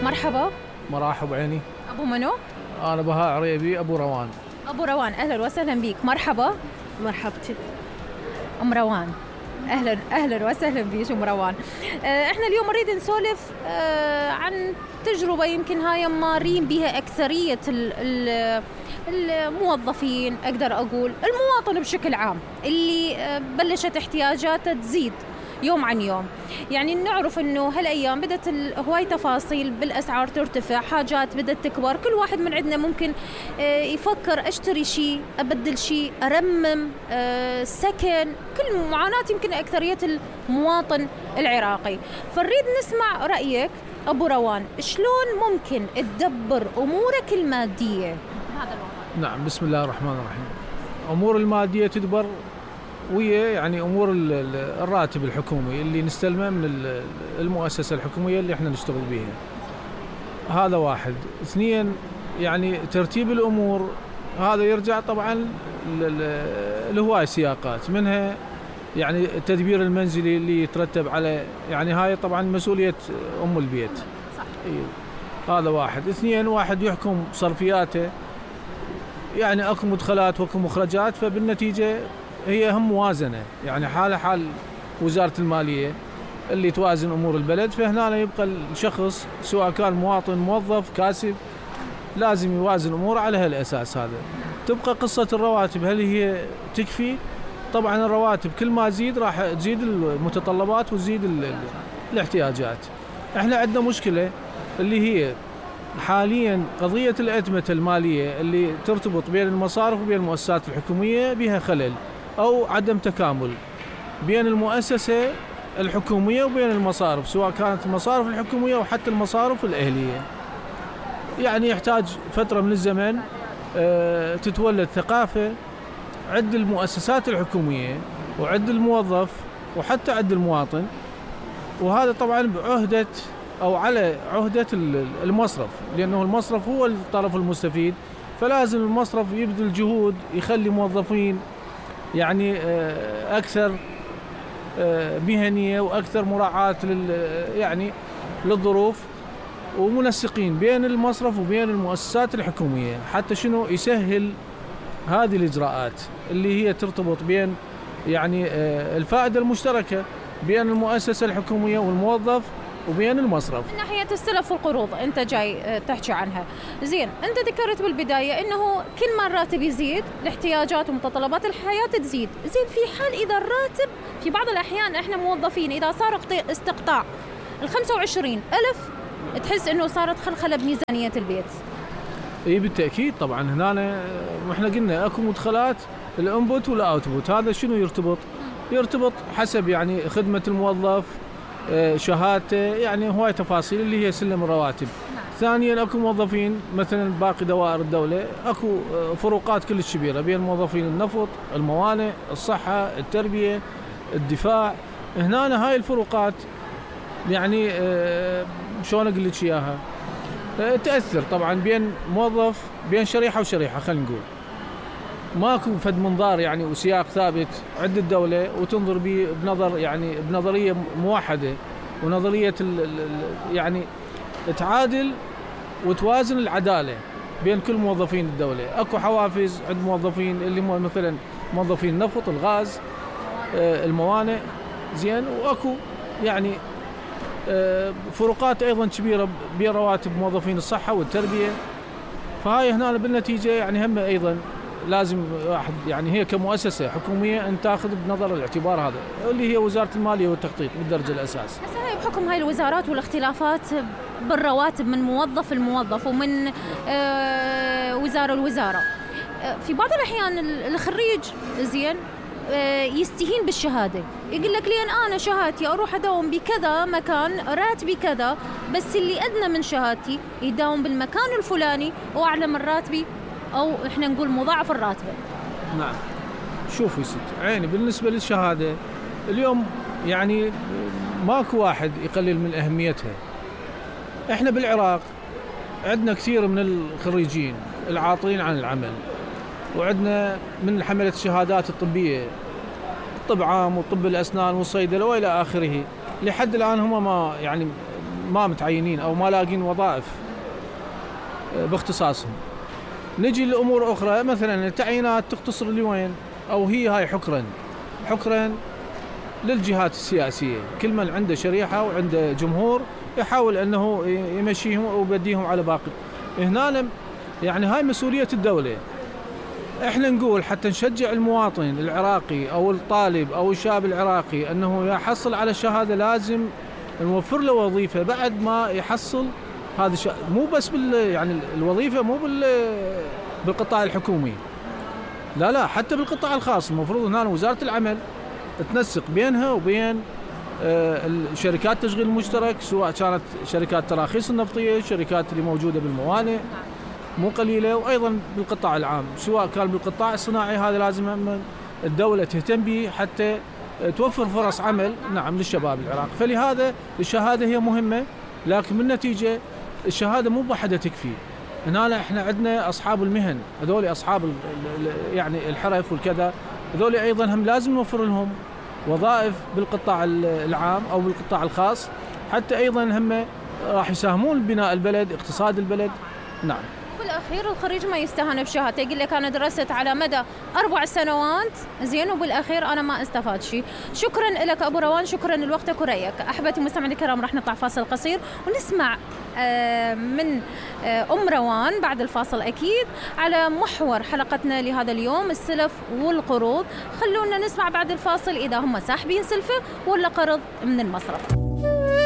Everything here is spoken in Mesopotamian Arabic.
مرحبا. مرحب عيني. أبو منو؟ أنا بهاء عريبي أبو روان. أبو روان، أهلا وسهلا بيك. مرحبا. مرحبتي. أم روان، أهلا وسهلا بيك أم روان. إحنا اليوم نريد نسولف عن تجربة يمكن هاي مارين بها أكثرية الموظفين، أقدر أقول المواطن بشكل عام، اللي بلشت احتياجاته تزيد يوم عن يوم. يعني نعرف انه هالايام بدت هواي تفاصيل بالاسعار ترتفع، حاجات بدت تكبر، كل واحد من عندنا ممكن يفكر اشتري شيء، ابدل شيء، ارمم، سكن، كل معاناة يمكن اكثرية المواطن العراقي. فنريد نسمع رايك ابو روان، شلون ممكن تدبر امورك المادية بهذا الوضع؟ نعم، بسم الله الرحمن الرحيم. امور المادية تدبر ويا يعني امور الراتب الحكومي اللي نستلمه من المؤسسه الحكوميه اللي احنا نشتغل بيها. هذا واحد. اثنين، يعني ترتيب الامور هذا يرجع طبعا لهواي سياقات، منها يعني التدبير المنزلي اللي يترتب على، يعني هاي طبعا مسؤوليه ام البيت. هذا واحد. اثنين، واحد يحكم صرفياته، يعني اكو مدخلات واكو مخرجات، فبالنتيجه هي هم موازنة، يعني حال وزارة المالية اللي توازن أمور البلد. فهنا يبقى الشخص سواء كان مواطن، موظف، كاسب، لازم يوازن أموره على هالأساس هذا. تبقى قصة الرواتب، هل هي تكفي؟ طبعا الرواتب كل ما تزيد راح تزيد المتطلبات وتزيد الاحتياجات. احنا عندنا مشكلة اللي هي حاليا قضية الأتمة المالية اللي ترتبط بين المصارف وبين المؤسسات الحكومية بها خلل أو عدم تكامل بين المؤسسة الحكومية وبين المصارف، سواء كانت المصارف الحكومية وحتى المصارف الأهلية. يعني يحتاج فترة من الزمن تتولد ثقافة عند المؤسسات الحكومية وعند الموظف وحتى عند المواطن، وهذا طبعا بعهدة أو على عهدة المصرف، لأنه المصرف هو الطرف المستفيد. فلازم المصرف يبذل جهود، يخلي موظفين يعني أكثر مهنية وأكثر مراعاة يعني للظروف، ومنسقين بين المصرف وبين المؤسسات الحكومية، حتى شنو يسهل هذه الإجراءات اللي هي ترتبط بين يعني الفائدة المشتركة بين المؤسسة الحكومية والموظف وبين المصرف. من ناحية السلف والقروض أنت جاي تحكي عنها، زين. أنت ذكرت بالبداية إنه كل ما الراتب يزيد الاحتياجات ومتطلبات الحياة تزيد، زين. في حال إذا الراتب في بعض الأحيان إحنا موظفين إذا صار استقطاع 25,000 تحس إنه صارت خلخلة بميزانية البيت. إيه بالتأكيد طبعا. هنا وإحنا قلنا أكو مدخلات الانبوت والأوتبوت. هذا شنو يرتبط حسب يعني خدمة الموظف، شهادته، يعني هواي تفاصيل اللي هي سلم الرواتب. ثانيا اكو موظفين مثلا باقي دوائر الدولة اكو فروقات كلش كبيرة بين موظفين النفط، الموانئ، الصحة، التربية، الدفاع. هنا هاي الفروقات يعني شلون اقول لك اياها، تأثر طبعا بين موظف، بين شريحة وشريحة. خلينا نقول ماكو فد منظار يعني وسياق ثابت عند الدولة وتنظر به بنظر يعني بنظرية موحدة، ونظرية يعني تعادل وتوازن العدالة بين كل موظفين الدولة. اكو حوافز عند موظفين اللي هم مثلا موظفين النفط، الغاز، الموانئ، زين. واكو يعني فروقات ايضا كبيرة بين رواتب موظفين الصحة والتربية. فهاي هنا بالنتيجة يعني هم ايضا لازم واحد يعني هي كمؤسسة حكومية أن تأخذ بنظر الاعتبار هذا اللي هي وزارة المالية والتخطيط بالدرجة الأساس. هسه هاي بحكم هاي الوزارات والاختلافات بالرواتب من موظف لموظف ومن وزارة لوزارة، في بعض الأحيان الخريج زين يستهين بالشهادة، يقول لك لين أنا شهادتي أروح أداوم بكذا مكان راتبي كذا، بس اللي أدنى من شهادتي يداوم بالمكان الفلاني وأعلى من راتبي، أو إحنا نقول مضاعف الراتبة. نعم. شوفوا ست عيني، بالنسبة للشهادة اليوم يعني ماكو واحد يقلل من أهميتها. إحنا بالعراق عندنا كثير من الخريجين العاطلين عن العمل، وعندنا من حملة الشهادات الطبية، طب عام وطب الأسنان والصيدلة وإلى آخره. لحد الآن هم ما يعني ما متعينين أو ما لاقين وظائف باختصاصهم. نجي لأمور أخرى مثلا التعيينات تقتصر لوين؟ أو هي هاي حكرا للجهات السياسية، كل من عنده شريحة وعنده جمهور يحاول أنه يمشيهم ويبديهم على باقي. هنا يعني هاي مسؤولية الدولة. احنا نقول حتى نشجع المواطن العراقي أو الطالب أو الشاب العراقي أنه يحصل على الشهادة، لازم نوفر له وظيفة بعد ما يحصل هذا مو بس يعني الوظيفة مو بالقطاع الحكومي، لا حتى بالقطاع الخاص. المفروض هنا وزارة العمل تنسق بينها وبين الشركات التشغيل المشترك، سواء كانت شركات تراخيص النفطية، الشركات اللي موجودة بالموانئ مو قليلة، وأيضا بالقطاع العام، سواء كان بالقطاع الصناعي. هذا لازم الدولة تهتم به حتى توفر فرص عمل للشباب العراقي. فلهذا الشهادة هي مهمة، لكن بالنتيجة الشهادة مو بوحدها تكفي. هنا احنا عندنا أصحاب المهن، هذول أصحاب يعني الحرف والكذا، هذول أيضا هم لازم نوفر لهم وظائف بالقطاع العام أو بالقطاع الخاص، حتى أيضا هم راح يساهمون ببناء البلد، اقتصاد البلد. نعم. بالأخير الخريج ما يستهان بشهادته، يقول لك أنا درست على مدى 4 سنوات زين وبالأخير أنا ما استفاد شيء. شكرا لك أبو روان، شكرا لوقتك ورأيك. أحبتي المستمعين الكرام، راح نطلع فاصل قصير ونسمع من روان بعد الفاصل أكيد على محور حلقتنا لهذا اليوم، السلف والقروض. خلونا نسمع بعد الفاصل إذا هم ساحبين سلفة ولا قرض من المصرف.